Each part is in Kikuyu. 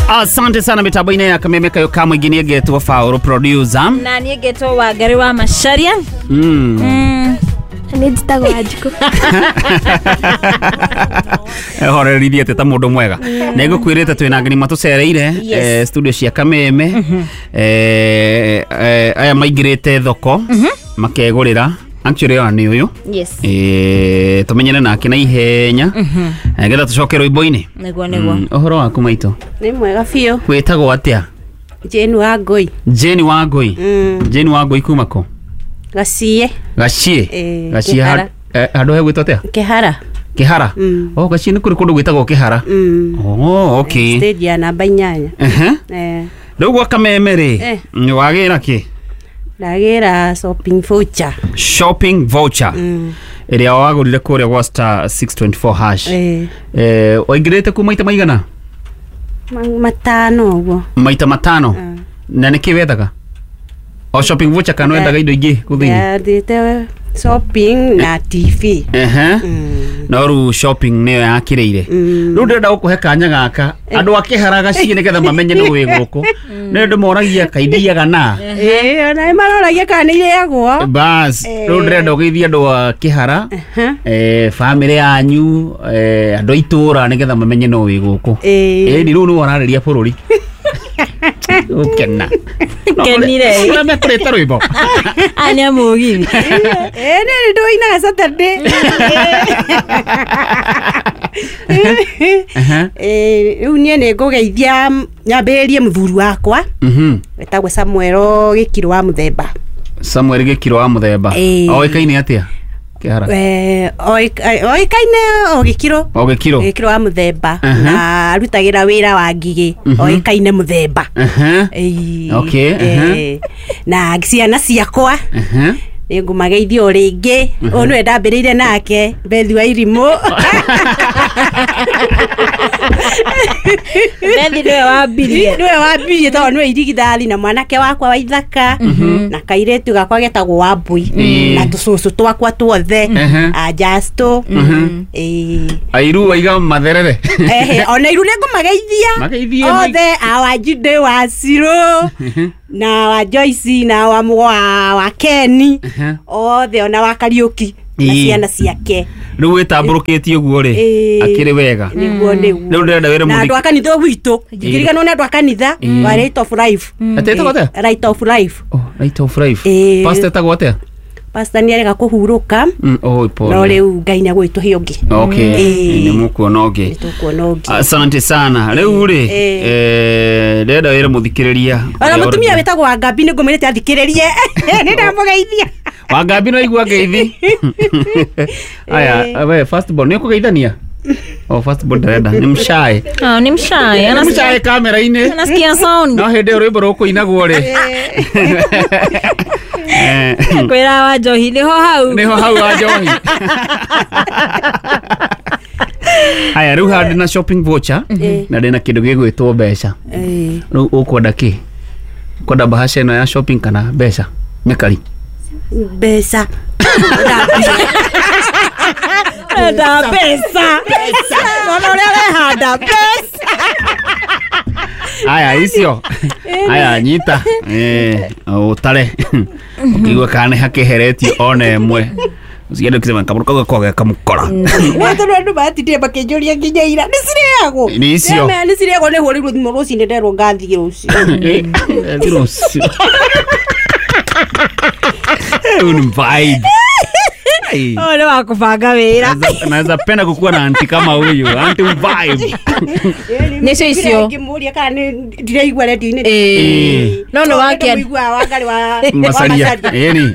Asante sana mitambo-inĩ ya Kameme kayo ka mũingĩ nĩ ngetwo Faũrũ producer. Na niĩ ngetwo Wangari wa Macharia. Nĩ njĩtagwo Wanjikũ. Horerithie atĩ ta mũndũ mwega. Nĩ ngũkwĩrĩte twĩna ageni matũcereire studio cia Kameme. Aya maingĩrĩte thoko makegũrĩra. Actually ona nĩ ũyũ. Yes. Tũmenyane nake na ihenya getha tũcoke rwĩmbo-inĩ. Nĩguo nĩguo. Ũhoro waku maitũ? Nĩ mwega biũ. Wĩtagwo atĩa? Jane wa Ngũi. Jane wa Ngũi. Jane wa Ngũi kuma kũ? Gaciĩ. Gaciĩ. Gaciĩ Kĩhara. Handũ hegwĩtwo atĩa? Kĩhara. Kĩhara. Oh, Gaciĩ nĩ kũrĩ kũndũ gwĩtagwo Kĩhara. Oh, okay. Stage ya namba 8. Rĩu gwa Kameme rĩ, wagĩra kĩ? Ndagĩra shopping voucher. Shopping voucher. Ĩrĩa wagũrire kũrĩa gwa star 624 hash. Waingĩrĩte ku maita maigana? Matano ũguo. Maita matano. Na nĩkĩ wethaga? O shopping voucher kana wendaga indo ingĩ kũ thĩinĩ? Ndathiĩte shopping na TV. No rĩu shopping nĩyo yakĩrĩire. Rĩu ndĩrenda gũkũhe kanya gaka andũ a Kĩhara Gaciĩ nĩgetha mamenye nĩ wĩ gũkũ. Nĩ ndĩmoragia kaithiaga na. Ona nĩ maroragia kana nĩ irĩagwo. Bas, rĩu ndĩrenda ũgeithie andũ a Kĩhara, bamĩrĩ yanyu, andũ a itũũra nĩgetha mamenye no wĩ gũkũ. Ĩni rĩu nĩwe ũrarĩria bũrũri. Ũkena. Kenire. Ũrĩa mekũrĩte rwĩmbo. Aya nĩ a mũgithi. Nĩ ndũinaga Saturday. Rĩu niĩ nĩ ngũgeithia nyambĩrĩrie mũthuri wakwa. Wetagwo Samuel Gĩkirũ wa Mũthemba. Samuel Gĩkirũ wa Mũthemba. Oĩkaine atĩa? Kĩhara. Oĩkaine o Gĩkirũ. O Gĩkirũ. Gĩkirũ wa Mũthemba. Na arutagĩra wĩra wa ngigĩ. Oĩkaine Mũthemba. Okay. Na ciana ciakwa. Nĩ ngũmageithia o rĩngĩ. Ũyũ nĩwe ndambĩrĩire nake, Bethi wa Irimũ. Bethi nĩwe wambirie. Nĩwe wambirie tondũ nĩwe irigithathi na mwanake wakwa wa ithaka na kairĩtu gakwa getagwo Wambui na tũcũcũ twakwa tuothe a Justo. Airu waiga matherere. Ona iru nĩ ngũmageithia othe a Wanjindĩ wa Cirũ na wa Joyce na wa Ken othe ona wa Kariũki na ciana ciake. Rĩu wĩtambũrũkĩtie ũguo rĩ, akĩrĩ wega. Nĩguo nĩguo. Rĩu ndĩrenda wĩre Na andũ a kanitha gwitũ, ngĩriganwo nĩ andũ a kanitha wa Right of Life. Atĩ ĩtagwo atĩa? Right of Life. Oh, Right of Life. Pastor ĩtagwo atĩa? Pastor nĩ arega kũhurũka. No rĩu Ngai nĩ agũgĩtũhe ũngĩ. Okay. Nĩ mũkuona ũngĩ. Nĩ tũkuona ũngĩ. Asante sana. Rĩu rĩ, ndĩrenda wĩre mũthikĩrĩria. Ona mũtumia wĩtagwo Wangambi nĩ ngũmwĩrĩte athikĩrĩrie. Nĩ ndamũgeithia. Wangambi no igua ngeithi. Aya, we first born nĩ ũkũgeithania? Oh, first born ndarenda. Nĩ mshae. Oh, ni mshae. Nĩ mshae kamera-inĩ. Anasikia sound. No hĩndĩ ĩyo rwĩmbo rũkũinagwo rĩ. Kwĩra wa njohi nĩho hau. Nĩho hau wa njohi. Aya, rĩu haha ndĩna shopping voucher na ndĩna kĩndũ gĩgwĩtwo mbeca. Rĩu ũkwenda kĩ? Ũkwenda bahasha ĩno ya shopping kana mbeca? Mĩkari. Mbeca. Enda mbeca. Ona ũrĩa ũrehanda mbeca. Aya icio. Aya nyita. Ũtare. Ũkĩigua kana nĩ hakĩheretio ona ĩmwe. Usiende ukisema kamũkora kau kamũkora. Wothe andũ matindire makĩnjũria nginya ira. Nĩ cirĩagwo. Nĩ icio. Nĩ cirĩagwo nĩ hũrĩirwo thimũ rũcinĩ nderwo ngathiĩ rũciũ. Ngathiĩ rũciũ. Huyu ni vibe. Ole wa kubanga wĩra. Naweza penda kukuwa na anti kama huyu. Anti vibe. Nĩcio icio. Ngĩmũria kana nĩ ndiraigua redio-inĩ. No nĩ wake. Ndĩmũiguaga Wangari wa Masaria. Ĩni.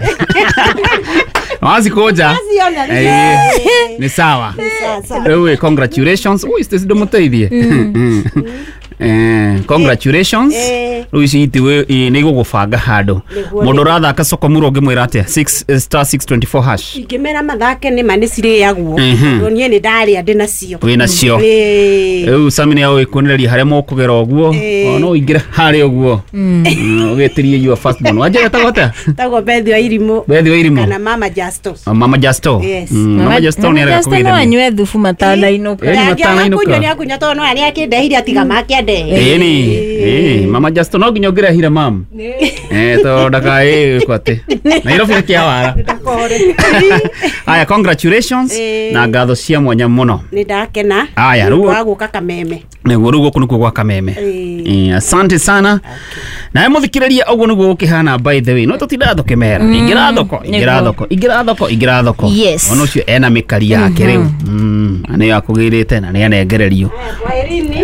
Wazikoja. Ni sawa. Rĩu congratulations. Ui, Stacy ndũmũteithie. Congratulations. Rĩu ici nĩ igũgũbanga handũ. Mũndũ ũrathaka soko mũro ũngĩmwĩra atĩa? 6 star 624 hash. Ingĩmera mathake nĩ ma nĩ cirĩagwo. Tondũ niĩ nĩ ndarĩa ndĩ nacio. Wĩ nacio. Rĩu Sami nĩ agũgĩkuonereria harĩa mũkũgera ũguo. No ũingĩre harĩa ũguo. Ũgĩtĩrie your first born. Wanjĩra etagwo atĩa? Etagwo Bethi wa Irimũ. Bethi wa Irimũ. Kana Mama Justo. Mama Justo. Yes. Mama Justo nĩ arega Mama Justo no kũgeithania. anyue thubu matanainũka. Ĩni matanainũka. Nĩ akũnyua tondũ no arĩa akĩndehire atiga make andehere. twende. Ĩni mama Justo no nginya ũngĩrehire mam to ndakaĩ kwate Nairobi nĩ wara. Aya, congratulations na ngatho cia mwanya mũno. Nĩ ndakena. Aya, rĩu wa gũka Kameme. Nĩguo rĩu gũkũ nĩkuo gwa Kameme. Asante sana. Nawe mũthikĩrĩria ũguo nĩguo gũkĩhana by the way. No tũtindaga tũkĩmera. Ingĩra thoko, ingĩra thoko, ingĩra thoko, ingĩra thoko. Ona ũcio ena mĩkari yake rĩu. Na nĩyo akũgĩrĩte na nĩ anengererio.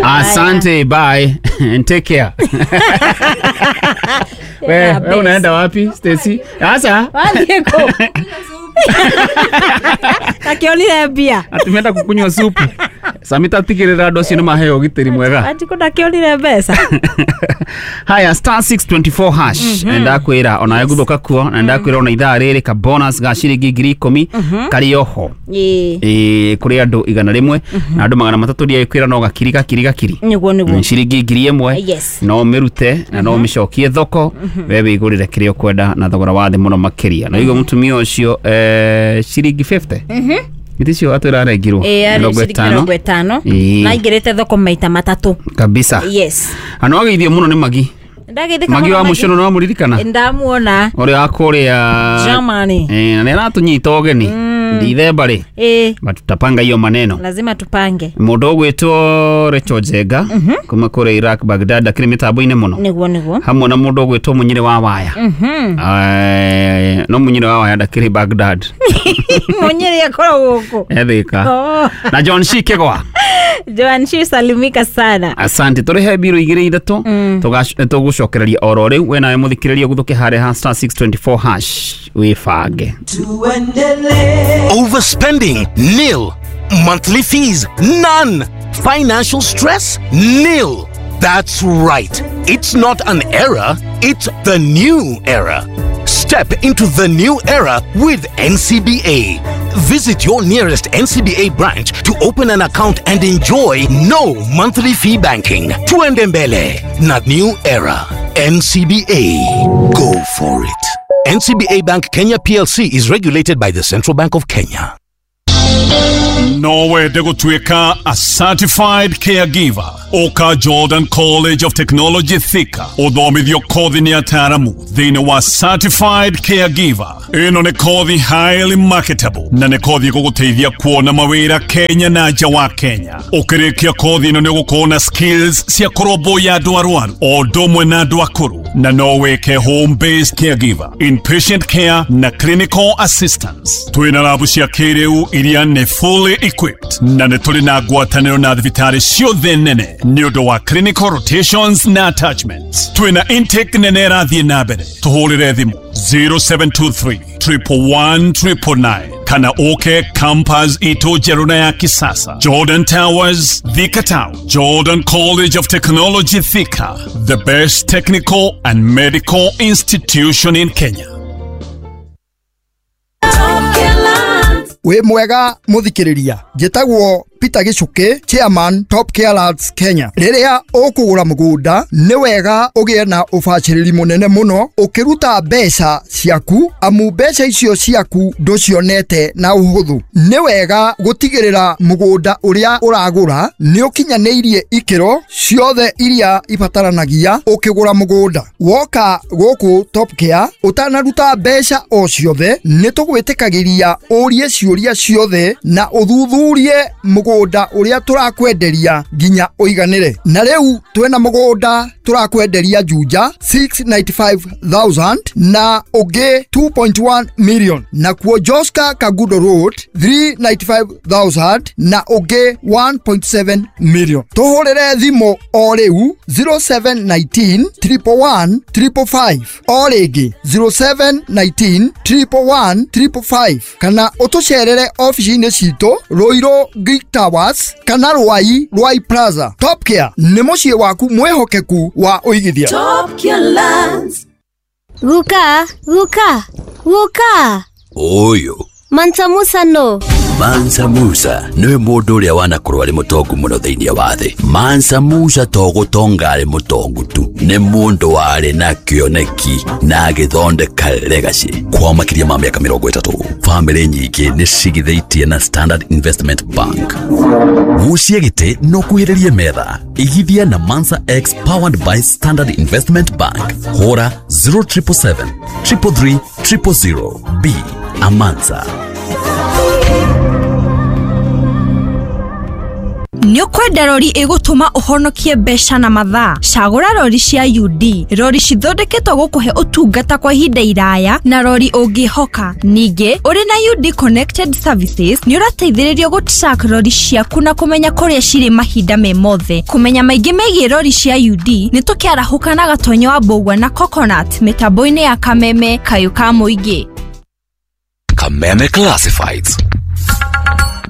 Asante, bye and take care. Wewe unaenda wapi Stacy? Sasa wathiĩ kũ? Akĩonire mbia. Atumenda kukunywa supu. Samita tigĩrĩra andũ acio nĩ maheo ũgitĩri mwega. Anjikũ ndakĩonire mbeca. Haya, star 624 hash. Ndakwĩra ona gũthũka kuo na ndakwĩra ona ithaa rĩrĩ ka bonus ga ciringi 10,000 karĩ oho. Kũrĩ andũ 100 na andũ 300 ndiakwĩra no gakiri gakiri gakiri. Nĩguo nĩguo. Ciringi 1,000. No mĩrute na no mĩcokie thoko we wĩgũrĩre kĩrĩa ũkwenda na thogora wa thĩ mũno makĩria. Na ũguo mũtumia ũcio ciringi 50. Giticio atwira arengirwo 50 na ingirite thoko maita matatu kabisa. Yes. Ano ageithio muno ni Magi. Ndageithika Magi wa mucono no muririkana ndamuona uria akuria Germany na nĩ aratunyita ũgeni ndithemba rĩ but tutapanga hiyo maneno, lazima tupange. Mũndũ ũgwĩtwo Rachel Njenga kuma kũrĩa Iraq Baghdad akĩrĩ mĩtambo-inĩ mũno. Nĩguo nĩguo. Hamwe na mũndũ ũgwĩtwo Mũnyĩrĩ wa Waya. No Mũnyĩrĩ wa Waya ndakĩrĩ Baghdad. Mũnyĩrĩ akoragwo gũkũ ethika. Na John Shi Kĩgwa. Joan Shi salimika sana. Asante. Tũrĩhe mbirũ igĩrĩ ithatũ tũgũcokereria oro rĩu. We nawe mũthikĩrĩria gũthũke harĩa ha star 624 hash wĩbange. Overspending? Nil. Monthly fees? None. Financial stress? Nil. That's right. It's not an era, it's the new era. Step into the new era with NCBA. Visit your nearest NCBA branch to open an account and enjoy no monthly fee banking. Tuende mbele na new era. NCBA. Go for it. NCBA Bank Kenya PLC is regulated by the Central Bank of Kenya. No wende gũtuĩka a certified caregiver. Oka Jordan College of Technology Thika ũthomithio kothi nĩ ataaramu thĩinĩ wa certified caregiver. Ĩno nĩ kothi highly marketable na nĩ kothi ĩgũgũteithia kuona mawĩra Kenya na nja wa Kenya. Ũkĩrĩkia kothi ĩno nĩ ũgũkorwo na skills cia kũrũmbũiya andũ arwaru o ũndũ ũmwe na andũ akũrũ, na no wĩke home based caregiver, inpatient care na clinical assistance. Twĩna rabu cia kĩrĩu iria nĩ fully equipped na nĩ tũrĩ na ngwatanĩro na thibitarĩ ciothe nene nĩ ũndũ wa clinical rotations na attachments. Twĩna intake nene ĩrathiĩ na mbere. Tũhũrĩre thimũ 0723 111 999 kana uke campus ito njerũ na ya kisasa, Jordan Towers, Thika Town. Jordan College of Technology Thika, the best technical and medical institution in Kenya. Wĩ mwega mũthikĩrĩria, njĩtagwo Peter Gichuki, chairman Top Care Lands Kenya. Rĩrĩa ũkũgũra mũgũnda nĩ wega ũgĩe na ũbacĩrĩri mũnene mũno ũkĩruta mbeca ciaku, amu mbeca icio ciaku ndũcionete na ũhũthũ. Nĩ wega gũtigĩrĩra mũgũnda ũrĩa ũragũra nĩ ũkinyanĩirie ikĩro ciothe iria ibataranagia ũkĩgũra mũgũnda. Woka gũkũ Top Care ũtanaruta mbeca o ciothe nĩ tũgwĩtĩkagĩria ũrie ciũria ciothe na ũthuthurie mũgũnda ũrĩa tũrakwenderia nginya ũiganĩre. Na rĩu twĩna mũgũnda tũrakwenderia Juja 695,000 na ũngĩ 2.1 million, na kuo Joska Kagudo Road 395,000 na ũngĩ 1.7 million. Tũhũrĩre thimũ o rĩu 0719 111 555, o rĩngĩ 0719 111 555, kana ũtũcerere ofici-inĩ citũ Ruiru Greek Towers kana Ruai Ruai Plaza. Top Care nĩ mũciĩ waku mwĩhokeku wa ũigithia. Top Care Lands. Guka, guka, guka. Oyo. Mansa Musa no. Mansa Musa niwe mũndũ ũrĩa wanakorwo arĩ mũtongu mũno thĩinĩ wa thĩ. Mansa Musa to gũtonga arĩ mũtongu tu, Nĩ mũndũ warĩ na kĩoneki na agĩthondeka legacy kwa makĩria ma mĩaka 30. Bamĩrĩ nyingĩ nĩ cigithĩtie na Standard Investment Bank. Gucia gĩtĩ no kuhĩrĩrie metha. Igithia na Mansa X powered by Standard Investment Bank. Hũra 0777 333 000. B Amansa. Nĩ ũkwenda rori ĩgũtũma ũhonokie mbeca na mathaa? Cagũra rori cia UD, rori cithondeketwo gũkũhe ũtungata kwa ihinda iraya na rori ũngĩhoka. Ningĩ, ũrĩ na UD Connected Services nĩ ũrateithĩrĩrio gũ-track rori ciaku na kũmenya kũrĩa cirĩ mahinda me mothe. Kũmenya maingĩ megiĩ rori cia UD nĩ tũkĩarahũka na Gatonyo wa Mbũgua na Coconut mĩtambo-inĩ ya Kameme kayũ ka mũingĩ. Kameme Classifieds.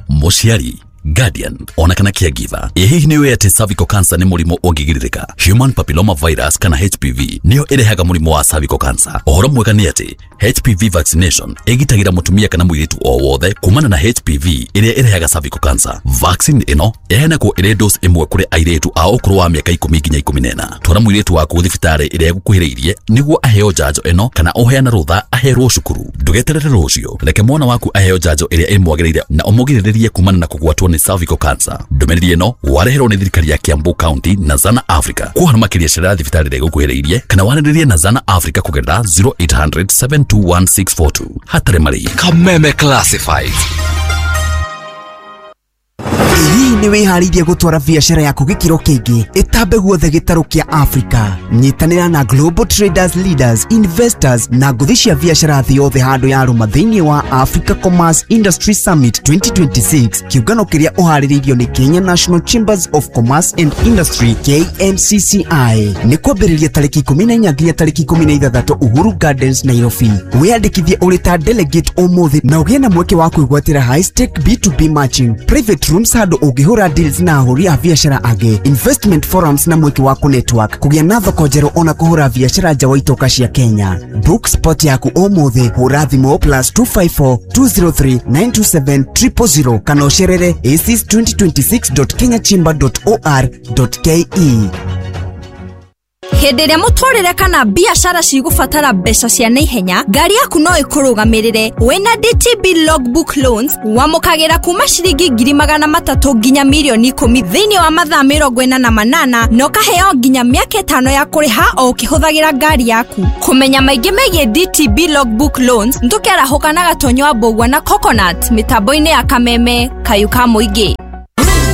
Mũciari, guardian ona kana caregiver, ĩ hihi nĩ ũĩ atĩ cervical cancer nĩ mũrimũ ũngĩgirĩrĩka? Human papilloma virus kana HPV nĩyo ĩrehaga mũrimũ wa cervical cancer. Ũhoro mwega nĩ atĩ HPV vaccination ĩgitagĩra mũtumia kana mũirĩtu o wothe kumana na HPV ĩrĩa ĩrehaga cervical cancer. Vaccine ĩno ĩheanagwo ĩrĩ dose ĩmwe kũrĩ airĩtu a ũkũrũ wa mĩaka 10 nginya 14. Twara mũirĩtu waku thibitarĩ ĩrĩa ĩgũkuhĩrĩirie nĩguo aheo njanjo ĩno kana ũheane rũtha aherwo cukuru. Ndũgeterere rũciũ, reke mwana waku aheo njanjo ĩrĩa ĩmwagĩrĩire na ũmũgirĩrĩrie kumana na kũgwatwo nĩ cervical cancer. Ndũmĩrĩri ĩno wareherwo nĩ thirikari ya Kiambu County na Zana Africa. Kwa makĩria cerera thibitarĩ ĩrĩa ĩgũkuhĩrĩirie kana warĩrĩrie na Zana Africa kũgerera 0800 721 642. Hatarĩ marĩhi. Kameme Classifieds. Hihi nĩ wĩharĩirie gũtwara biacara yaku gĩkĩro kĩngĩ ĩtambe guothe gĩtarũ kĩa Africa? Nyitanĩra na Global Traders Leaders, Investors na ngũthi cia biacara thĩ yothe handũ ya rũma thĩinĩ wa Africa Commerce Industry Summit 2026, kĩũngano kĩrĩa ũharĩrĩirio nĩ Kenya National Chambers of Commerce and Industry KNCCI. Nĩ kwambĩrĩria tarĩki 14 nginya tarĩki 16 Uhuru Gardens, Nairobi. Wĩyandĩkithie ũrĩ ta delegate ũmũthĩ na ũgĩe na mweke wa kwĩgwatĩra high stake B2B matching, private rooms handũ ũngĩhũra deals na ahũri a biacara angĩ, investment forums na mweke wa kũ-network, kũgĩa na thoko njerũ ona kũhũra biacara nja wa itoka cia Kenya. Book spot yaku ũmũthĩ, hũra thimũ +254 203 927 000 kana ũcerere aces2026.kenyachamber.or.ke. Hĩndĩ ĩrĩa mũtũrĩre kana biacara cigũbatara mbeca cia naihenya, ngari yaku no ĩkũrũgamĩrĩre. Wĩna DTB Logbook Loans wamũkagĩra kuma ciringi 300,000 nginya 10,000,000 thĩinĩ wa mathaa 48 na ũkaheo nginya mĩaka 5 ya kũrĩha o ũkĩhũthagĩra ngari yaku. Kũmenya maingĩ megiĩ DTB Logbook Loans tũkĩarahũka na Gatonyo wa Mbũgua na Coconut mĩtambo-inĩ ya Kameme kayũ ka mũingĩ.